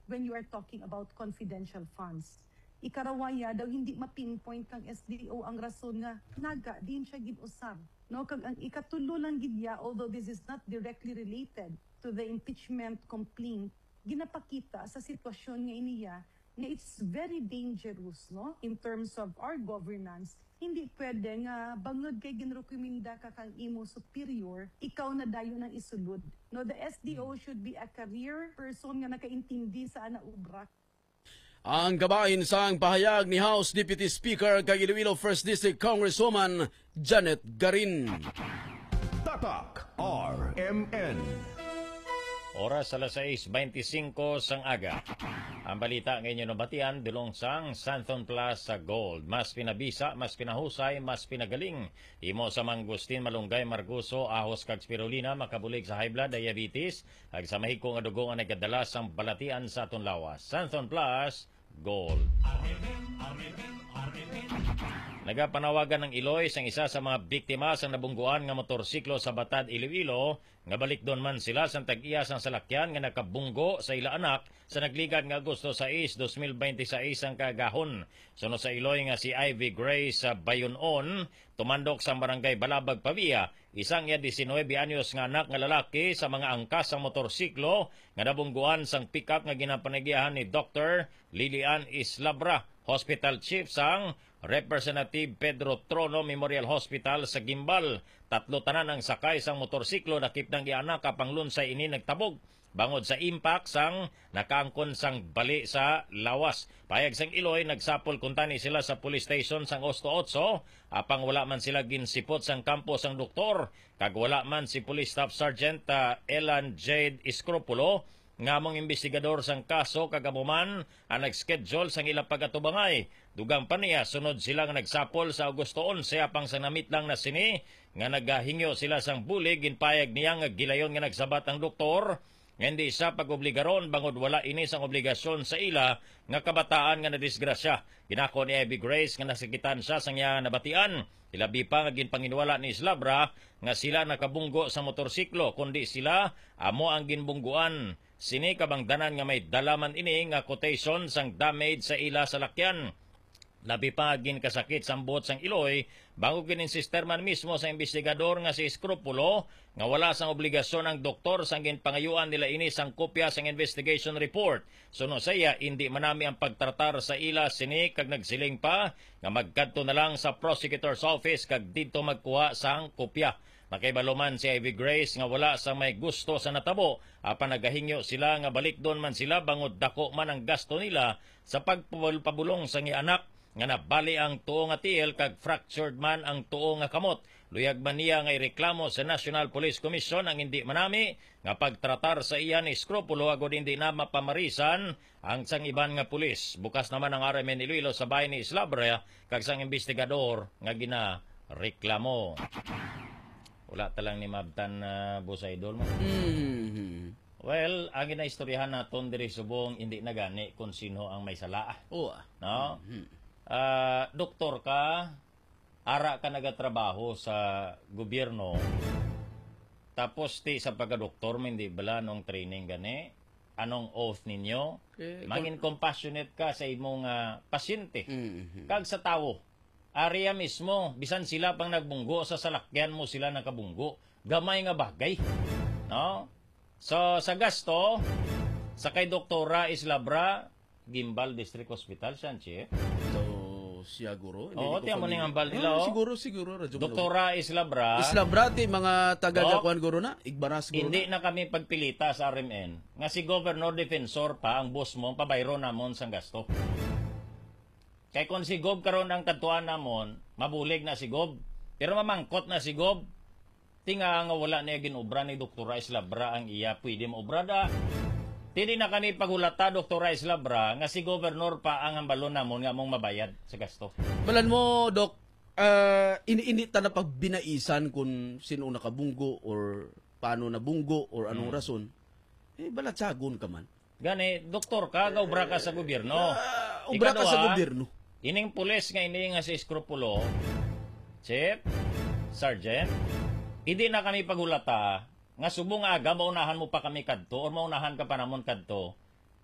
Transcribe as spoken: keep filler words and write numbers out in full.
when you are talking about confidential funds. Ikaruwa ya, daw hindi ma-pinpoint kang S D O ang rason nga naga diin siya gin-usab. No, kag ang ikatulo lang gid ya, although this is not directly related to the impeachment complaint, ginapakita sa sitwasyon nga iniya nga it's very dangerous, no, in terms of our governance. Hindi pwede nga bangod kay ginrekomenda ka kang imo superior, ikaw na dayon ang isulod. No, the S D O should be a career person nga nakaintindi sa ana obra. Ang kabahin sang pahayag ni House Deputy Speaker kag Iloilo First District Congresswoman Janet Garin. Tatak R M N. Oras alas sais beintisinko sang aga. Ang balita nga inyo nabatian dulong sang Santhon Plus sa Gold. Mas pinabisa, mas pinahusay, mas pinagaling. Imo sa mangustin, malunggay, margoso, ahos kag spirulina makabulig sa high blood, diabetes, kag sa mahigko nga dugo nga nagadala sang balatian sa aton lawas. Santhon Plus Gold. Nagapanawagan ang Iloy sang isa sa mga biktima sang nabungguan nga motorsiklo sa Batad, Iloilo, nga balikdon man sila sang tag-iya sang salakyan nga nakabunggo sa ila anak sa nagligad nga Agosto sais, dos mil beintiseis ang kaagahon. Suno sa Iloy nga si Ivy Grace, ah, Bayonon, tumandok sang Barangay Balabag, Pavia, isang iya diecinuebe anyos nga anak nga lalaki sa mga angkas sang motorsiklo nga nabungguan sang pickup nga ginapanagyahan ni Doktor Lilian Islabra, Hospital Chief sang Representative Pedro Trono Memorial Hospital sa Guimbal. Tatlo tanan ang sakay sang motorsiklo nakipnang iya anak, apang lunsay ini nagtabog bangod sa impact sang nakaangkon sang bali sa lawas. Pahayag sang Iloy, nagsapol kuntani sila sa police station sang Osto Otso, apang wala man sila ginsipot sang kampo sang doktor, kag wala man si Police Staff Sergeant, ah, Elan Jade Escropulo, nga among imbestigador sang kaso, kag amo man ang nag-schedule sang ilang pag-atubangay. Dugang pa niya, sunod sila nga nagsapol sa Agosto onse, apang sang namitlang na sini nga nagahingyo sila sang bulig, ginpayag niya nga gilayon nga nagsabat ang doktor nga hindi siya pag-obligaron bangod wala ini sang obligasyon sa ila nga kabataan nga nadisgrasya. Ginako ni Ivy Grace nga nasakitan siya sang iya nabatian. Ilabi pa nga ginpanginwala ni Slabra nga sila nakabunggo sa motorsiklo, kundi sila amo ang ginbungguan. Sini kabangdanan nga may dala man ini nga quotation sang damage sa ila salakyan. Labi pa ginkasakit sang buot sang Iloy, bangod gin-insister man mismo sa imbestigador nga si Escropulo nga wala sang obligasyon ang doktor sang ginpangayuan nila ini sang kopya sang investigation report. Suno sa iya, indi manami ang pagtratar sa ila sini, kag nagsiling pa nga magkadto na lang sa prosecutor's office kag didto magkuha sang kopya. Makahibalo man si Ivy Grace nga wala sang may gusto sa natabo, apan nagahingyo sila nga balikdon man sila bangod dako man ang gasto nila sa pagpabulong sang iya anak nga nabali ang tuo nga tiil kag fractured man ang tuo nga kamot. Luyag man niya nga ireklamo sa National Police Commission ang indi manami nga pagtratar sa iya ni Escropulo agod indi na mapamarisan ang sang iban nga pulis. Bukas naman ang R M N Iloilo sa bahay ni Islabra kag sang imbestigador nga ginareklamo. Wala ta lang ni mabtan na, Boss Idol mo. Mhm. Well, ang ginaistoryahan naton diri subong, hindi na gani kung sino ang may sala. Oo, ah. No? Mhm. Ah, doktor ka, ara ka nagatrabaho sa gobyerno, tapos ti sa pagkadoktor mo, hindi bala nung training gani? Anong oath ninyo? Eh, mangin compassionate ka sa imong, ah, pasyente. Mhm. Kag sa tawo, area mismo, bisan sila pang nagbunggo sa salakyan mo, sila nakabunggo. Gamay nga bagay. No? So, sa gasto, sa kay Doktora Islabra, Guimbal District Hospital, siya ang chief. So, siya, guro. Hindi Oo, ko tiyan mo ning familiar. Hambal nila, Ah, oh. Siguro, siguro, Radyo Manila. Doktora Islabra. Islabra, ti mga taga Doc, Jakuan, guro na. Igbaras, guro hindi na. Na kami pagpilita sa R M N nga si Governor Defensor pa ang boss mo, pabayro namon sang gasto. Kay kung si Gov karon ang kadtuan namon, mabulig na si Gov. Pero mamangkot na si Gov. Tinga nga wala niya ginobra ni Doktora Islabra ang iya pwede maobra da. Ti di na kami paghulata, Doktora Islabra, nga si Governor pa ang hambalon namon nga among mabayad sa gasto. Balan mo, Doc, ah, ini-ini ta na pagbinaisan kung sino nakabunggo or paano nabunggo or anong Hmm. rason. Eh, balatsagon ka man. Gani, doktor ka, gaobra ka sa gobyerno. Ah, obra ka sa Ikaduha, gobyerno. Ining pulis nga ini nga si Escropulo, Chief, Sergeant, hindi na kami paghulata nga subong aga maunahan mo pa kami kadto or maunahan ka pa namon kadto.